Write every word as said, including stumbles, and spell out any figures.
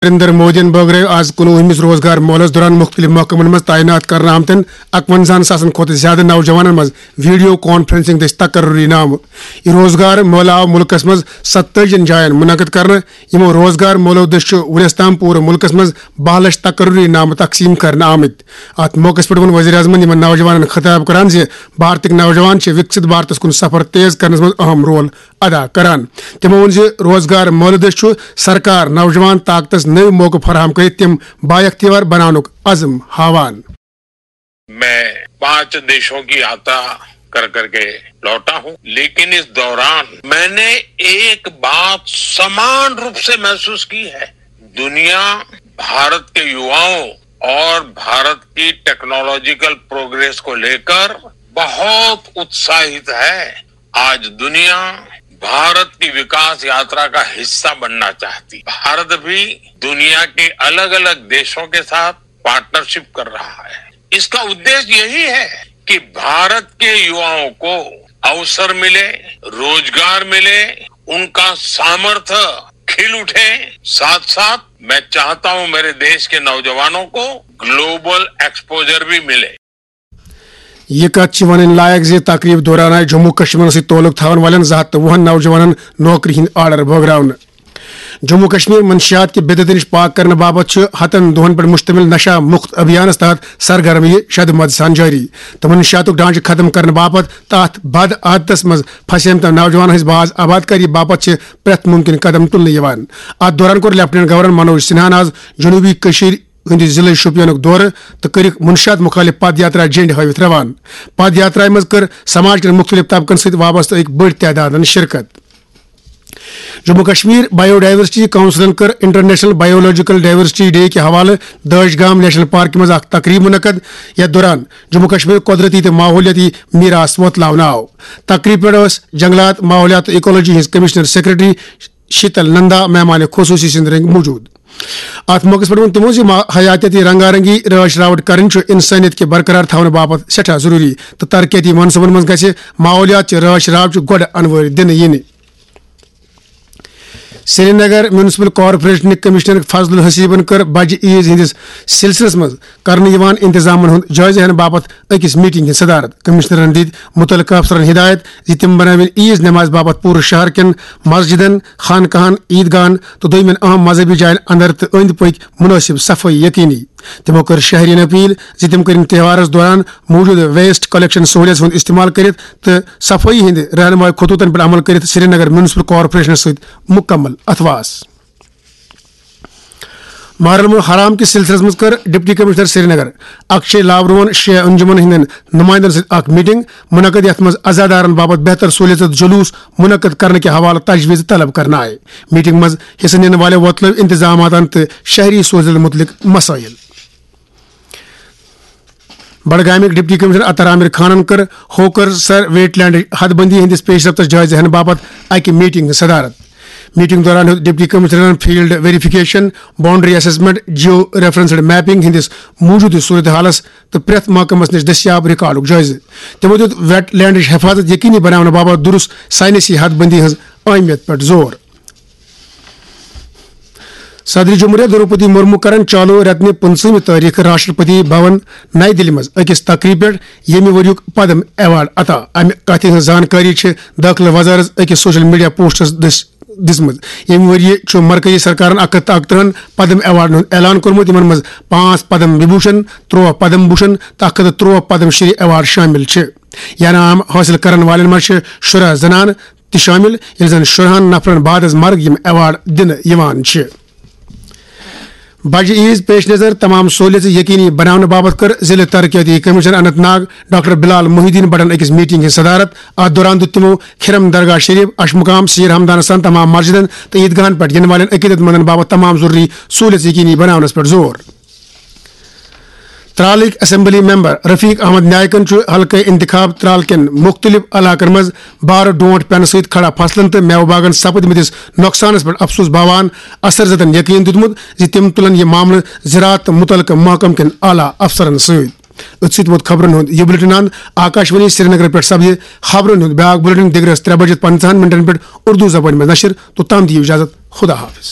نریندر مودیَن بٲگرٲو آز کُنوُہمِس روزگار مٲلَس دوران مُختٔلِف محکمَن منٛز تعینات کرنہٕ آمتٮ۪ن اَکوَنزاہَن ساسَن کھۄتہٕ زِیٛادٕ نوجوانَن منٛز ویڈیو کانفرنسنگ دٔسۍ تقرری نامہٕ۔ یہِ روزگار مٲلہٕ آو مُلکَس منٛز ستٲجِین جاین منعقد کرنہٕ۔ یِمو روزگار مٲلو دٔسۍ چھُ وُنیُس تام پوٗرٕ مُلکَس منٛز باہ لَچھ تقرری نامہٕ تقسیٖم کرنہٕ آمٕتۍ۔ اَتھ موقعَس پٮ۪ٹھ ووٚن ؤزیٖر اعظمَن یِمَن نوجوانَن خطاب کران زِ بھارتٕکۍ نوجوان چھِ وِکسِت بھارتَس کُن سفر تیز کرنَس منٛز اہم رول ادا کران۔ تِمو ووٚن زِ روزگار مٲلہٕ دٔسۍ چھُ سرکار نوجوان طاقتَس نٔوۍ موقعہٕ فراہم کٔرِتھ تِم بااختیار بناونُک عزم ہاوان۔ میں پانچ دیشوں کی یاترا کر کر کے لوٹا ہوں، لیکن اس دوران میں نے ایک بات سمان روپ سے محسوس کی ہے۔ دنیا بھارت کے یواؤں اور بھارت کی ٹیکنالوجیکل پروگریس کو لے کر بہت اتساہت ہے۔ آج دنیا بھارت کی وکاس یاترا کا حصہ بننا چاہتی، بھارت بھی دنیا کے الگ الگ دیشوں کے ساتھ پارٹنرشپ کر رہا ہے۔ اس کا ادیش یہی ہے کہ بھارت کے یواؤں کو اوسر ملے، روزگار ملے، ان کا سامرتھ کھل اٹھے۔ ساتھ ساتھ میں چاہتا ہوں میرے دیش کے نوجوانوں کو گلوبل ایکسپوجر بھی ملے۔ یہِ کتھ چھِ ونٕنۍ لایق زِ تقریب دوران آیہِ جموں کشمیرس سۭتۍ تعلق تھاون والٮ۪ن زٕ ہتھ تہٕ وُہن نوجوانن نوکری ہٕنٛدۍ آرڈر بٲگراونہٕ۔ جموں کشمیر منشیات کہِ بدعتہٕ نِش پاک کرنہٕ باپتھ چھُ ہتن دۄہن پٮ۪ٹھ مشتمل نشہ مکت ابھیانس تحت سرگرمی شد مد سان جٲری تہٕ منشیاتُک ڈھانچہٕ ختم کرنہٕ باپتھ تہٕ اتھ بد عادتس منٛز پھسیمتٮ۪ن نوجوانن ہٕنٛز باز آبادکاری باپتھ چھِ پرٛٮ۪تھ ممکن قدم تُلنہٕ یِوان۔ اتھ دوران کوٚر لیفٹیننٹ گورنر منوج سنہاہن آز جنوبی کٔشیٖر ہٕنٛدِ ضلعہٕ شوپینُک دورٕ تہٕ کٔرِکھ منشیات مُخٲلِف پد یاترا جنڈِ ہٲوِتھ روانہٕ۔ پد یاترایہِ منٛز کٔر سماج کٮ۪ن مُختٔلِف طبقن سۭتۍ وابستہٕ أکۍ بٔڑۍ تعدادن شرکت۔ جموں کشمیر بایو ڈائیورسٹی کونسلن کٔر انٹرنیشنل بایولوجیکل ڈائیورسٹی ڈے کہِ حوالہٕ دٲج گام نیشنل پارکہِ منٛز اکھ تقریب منعقد، یتھ دوران جموں کشمیر قدرتی تہٕ ماحولیٲتی میراث وۄتلاونہٕ آو۔ تقریب پٮ۪ٹھ ٲس جنگلات، ماحولیات تہٕ ایکولوجی ہٕنٛز کمشنر سیکرٹری شیتل نندا مہمان خصوصی سٕنٛدۍ رٔنگۍ موجود۔ اتھ موقعس پٮ۪ٹھ ووٚن تِمو زِ ما-، حیاتیٲتی رنگا رنگی، رٲچھ راوٹھ کرٕنۍ چھُ انسٲنیت کہِ برقرار تھاونہٕ باپتھ سٮ۪ٹھاہ ضروٗری تہٕ ترقیتی منصوبن منٛز گژھِ ماحولیات چہِ رٲچھ راوٹھ گۄڈٕ انوٲرۍ دِنہٕ یِنہِ۔ سرینگر میونسپل کارپوریشنٕکۍ کمشنر فضل الحسیبن کٔر بجہِ عیز ہٕنٛدِس سلسلس منٛز کرنہٕ یِوان انتظامن ہُنٛد جٲیزٕ ہینہٕ باپتھ أکِس میٹنگ ہٕنٛز صدارت۔ کمشنرن دِتۍ مُتعلقہٕ افسرن ہدایت زِ تِم بنٲوِن عیز نمازِ باپتھ پوٗرٕ شہر کٮ۪ن مسجدن، خانقاہن، عیدگاہن تہٕ دوٚیمٮ۪ن اہم مذہبی جاین اندر تہٕ أنٛدۍ پٔکۍ منٲسب صفٲیی یقینی۔ تِمو کٔر شہرین اپیل زِ تِم کٔرِن تہوارس دوران موجودٕ ویسٹ کلیکشن سہولیژ ہُنٛد استعمال کٔرِتھ تہٕ صفٲیی ہٕنٛدِ رہنمائی خطوطن پٮ۪ٹھ عمل کٔرِتھ سرینگر میونسپل کارپوریشنس سۭتۍ مکمل اتھواس۔ محرم الحرام کِس سلسلس منٛز کٔر ڈپٹی کمشنر سرینگر اکشے لاورون شیعہ انجمن ہٕنٛدٮ۪ن نمائندن سۭتۍ اکھ میٹنگ منعقد، یتھ منٛز عزادارن باپتھ بہتر سہولیژ تہٕ جلوس منعقد کرنہٕ کہِ حوالہٕ تجویز طلب کرنہٕ آیہِ۔ میٹنگ منٛز حصہٕ نِنہٕ والٮ۪و وۄتلٲو انتظاماتن تہٕ شہری سہولیژن مُتعلق مسائل۔ بڈگامٕکۍ ڈپٹی کمشنر عطر عامر خانن کٔر ہوکر سر ویٹ لینڈ حد بندی ہٕنٛدِس پیش رفتس جٲیزٕ ہینہٕ باپتھ اکہِ میٹنگ ہٕنٛز صدارت۔ میٹنگ دوران ہیوٚت ڈپٹی کمشنرن field verification, boundary assessment, geo referenced mapping ہٕنٛدِس موجودٕ صورتحالس تہٕ پرٛٮ۪تھ محکمس نِش دٔستیاب ریکارڈُک جٲیزٕ۔ تِمو دیُت ویٹ لینڈٕچ حفاظت یقینی بناونہٕ باپتھ درست سائنسی حد بندی ہٕنٛز اہمیت پٮ۪ٹھ زور۔ صدر جمہوریہ دروپدی مرمو کرن چالو رٮ۪تہٕ نہِ پٕنٛژٕہمہِ تٲریخہٕ راشٹرپتی بھون نئی دِلہِ منٛز أکِس تقریبہِ پٮ۪ٹھ ییٚمہِ ؤریُک پدم ایوارڈ عطا۔ امہِ کتھِ ہٕنٛز زانکٲری چھِ دٲخلہٕ وزارت أکِس سوشل میڈیا پوسٹس دٔسۍ دِژمٕژ۔ ییٚمہِ ؤرۍ یہِ چھُ مرکزی سرکارن اکھ ہتھ تہٕ اکترٕہن پدم ایوارڈن ہُنٛد اعلان کوٚرمُت، یِمن منٛز پانٛژھ پدم وبھوشن، ترٛوہ پدم بھوشن تہٕ اکھ ہتھ تہٕ ترٛوہ پدم شری ایوارڈ شٲمِل چھِ۔ انعام حٲصِل کرن والٮ۪ن منٛز چھِ شُراہ زنانہٕ تہِ شٲمِل، ییٚلہِ زن شُراہن نفرن بعد از مرگ یِم ایوارڈ دِنہٕ یِوان چھِ۔ بجہِ عیز پیش نظر تمام سہولیژٕ یقینی بناونہٕ باپتھ کٔر ضلعہٕ ترقیتی کمشنر اننت ناگ ڈاکٹر بلال محی الدین بٹن أکِس میٹنگ ہٕنٛز صدارت۔ اتھ دوران دیُت تِمو کھرم درگاہ شریف، اشمقام، سیر ہمدانس تام تمام مسجدن تہٕ عیدگاہن پٮ۪ٹھ یِنہٕ والٮ۪ن عقیدت مندن باپتھ تمام ضروری سہولیژٕ یقینی بناونس پٮ۪ٹھ زور۔ ترالٕکۍ اسمبلی ممبر رفیق احمد نائیکن چھُ حلقہٕ انتخاب ترال کٮ۪ن مُختٔلِف علاقن منٛز بارٕ ڈونٹ پٮ۪نہٕ سۭتۍ کھڑا فصلن تہٕ میوٕ باغن سپدمٕتِس نۄقصانس پٮ۪ٹھ افسوس باوان اثر زدن یقین دیُتمُت زِ تِم تُلن یہِ معاملہٕ زراعت تہٕ مُتعلقہٕ محکمہٕ کٮ۪ن اعلیٰ افسرن سۭتۍ۔ أتھۍ سۭتۍ ووت خبرن ہُنٛد یہِ بُلٹن اند۔ آکاشوانی سرینگر پٮ۪ٹھ سپدِ خبرن ہُنٛد بیاکھ بُلٹن دِگرس ترٛےٚ بجہِ پنٛژاہن منٹن پٮ۪ٹھ اردو زبٲنۍ منٛز نشر۔ توٚتام دِیِو اجازت، خدا حافظ۔